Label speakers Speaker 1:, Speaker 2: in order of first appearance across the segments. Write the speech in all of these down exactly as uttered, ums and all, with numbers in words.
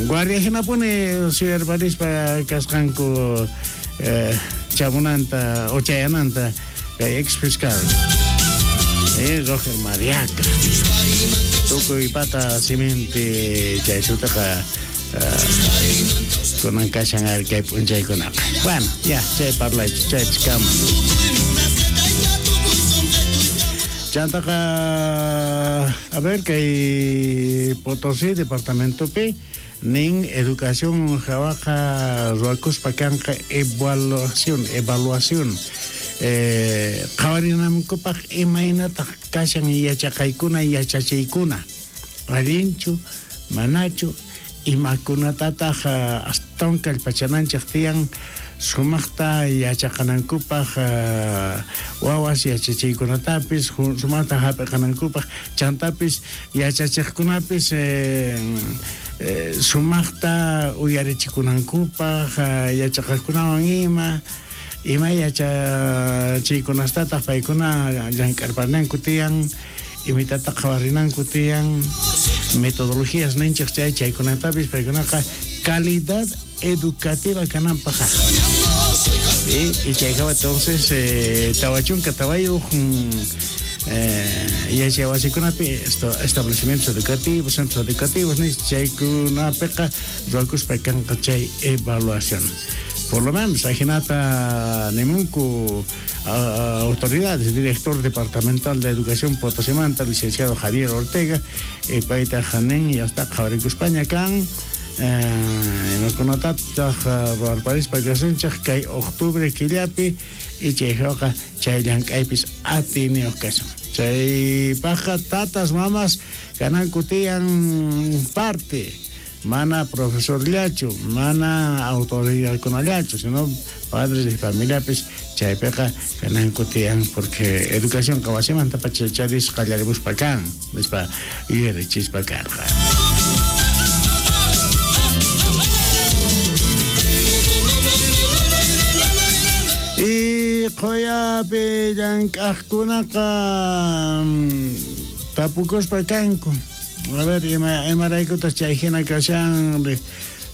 Speaker 1: Guardia hinapuni suyarparispa kasqanku eh, chamunanta o chayananta kay ex fiscal eh, Roger Mariaca tukuy pata siminpi chay sutaqa uh, kunan kashan ari kay p'unchaykunaqa. Bueno, ya, chay parlaychis, chaypis kama. Chantaqa, a ver, kay Potosí departamentopi nin educación hawaqa ruwakuspa kanqa evaluación, evaluación. Eh, qhawarinankupaq imaynataq kashan yachaqaykuna yachachiykuna, allinchu, manachu, imakunatataq astawan kallpachananchik tiyan sumaqta yachaqanankupaq wawas yachachiykunatapis sumaqta hap'iqanankupaq, chantapis yachachiqkunapis eh, eh, sumaqta uyarichikunankupaq yachaqaqkunawan ima ima yachachiykunastataq paykuna llank'arpananku tiyan, imitata qhawarinanku tiyan, metodologías ninchik chay chaykunatapis paykunaqa calidad educativa kananpaq. Y, y chaykawa entonces eh, tawachunka tawayuq eh, yachaywasikunapi establecimientos educativos, centros educativos nis chaykunapiqa ruwakuspa kanqa chay evaluación. Por lo menos ajinata nimunku autoridades, director departamental de Educación Potosimanta, licenciado Javier Ortega, eh, payta janin ya está qhawarikuspaña kan imakunatataq ruwarparispa kasunchik kay octubre killapi y chayqa chay llank'aypis atiniyuq kasun. Chaypaqqa tatas mamas kananku tiyan parte, mana profesorllachu, mana autoridadkunallachu, sino padres de familiapis chaypiqa kananku tiyan, porque educación wasimanta pacha charis qallarimuspa kan, nispa yuyarichispa karqa. Y qhuyapi llank'aqkunaqa tapukuspa kanku. A ver, ima imaraykutas chay hina kashan,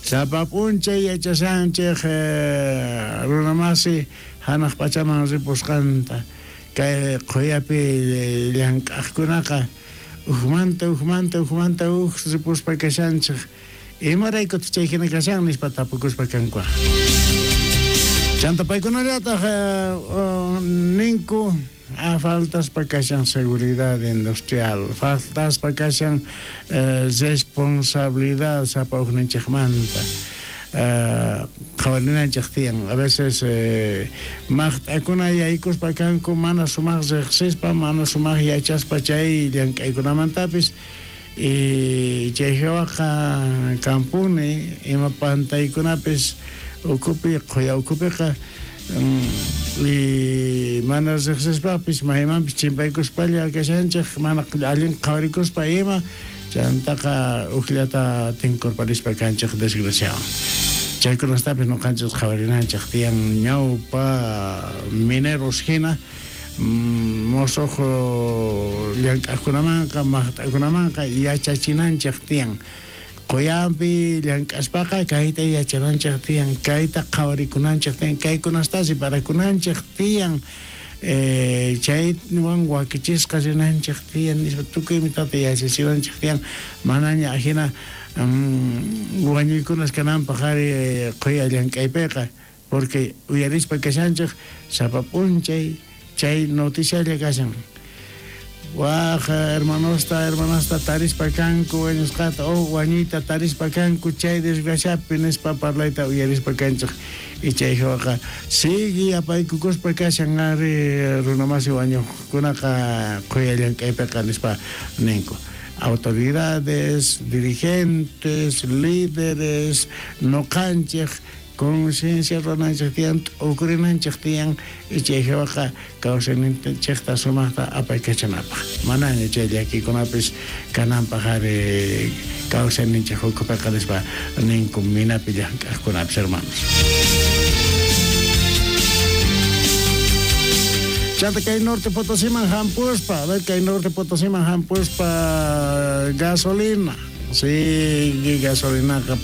Speaker 1: sapa p'unchay yachashanchik eh, runamasi hanaq pachaman ripusqanta kay qhuyapi llank'aqkunaqa ujmanta ujmanta ujmanta uj ripuspa kashanchik, imaraykutas chay hina kashan nispa tapukuspa kanku. Chanta paykunallataq eh, ninku ah, faltaspa kashan seguridad industrial, faltaspa kashan eh, responsabilidad sapa ujninchikmanta. Eh, qhawarinanchik tiyan, a veces eh, maqt'akuna yaykuspa kanku mana sumaq riqsispa, mana sumaq yachaspa chay llank'aykunamantapis, y chay hawaqa kampuni ima pantaykunapis ukupi qhuya ukupiqa y mana riqsispapis maymanpis chimpaykuspalla kashanchik mana allin qhawarikuspa ima chantaqa ujllata tinkurparispa kanchik desgraciado. Chaykunastapis nuqanchik qhawarinanchik tiyan ñawpa mineros hina mosoq llank'aqkunamanqa maqt'akunamanqa yachachinanchik tiyan. Qhuyanpi llank'aspaqa kayta yachananchik tiyan, kayta qhawarikunanchik tiyan, kaykunastasi parakunanchik tiyan, eh, chaywan wakichisqa rinanchik tiyan, nispa tukuy imatata yachachinanchik tiyan, manaña ajina mm, wañuykunas kananpaq ari qhuya llank'aypiqa, porque uyarispa kashanchik sapa p'unchay chay noticialla kashan. Waj hermanosta, hermanasta tarispa kanku wañusqata o wañuyta tarispa kanku chay desgraciapi nispa parlayta uyarispa kanchik y chay hawaqa sigue apaykukuspa kashan ari runamasi wañuqkunaqa qhuya llank'aypiqa nispa ninku. Autoridades, dirigentes, líderes, noqanchik conciencia runanchik tiyan, t'ukurinanchik tiyan y chay hawaqa kawsayninchikta sumaqta apaykachanapaq. Manaña chay llakikunapis kananpaq ari kawsayninchik ukupiqa nispa ninku minapi llank'aqkunapis, hermanos. Chanta kay Norte Potosiman hampuspa, a ver kay Norte Potosiman hampuspa gasolina. Sí, gasolinaqa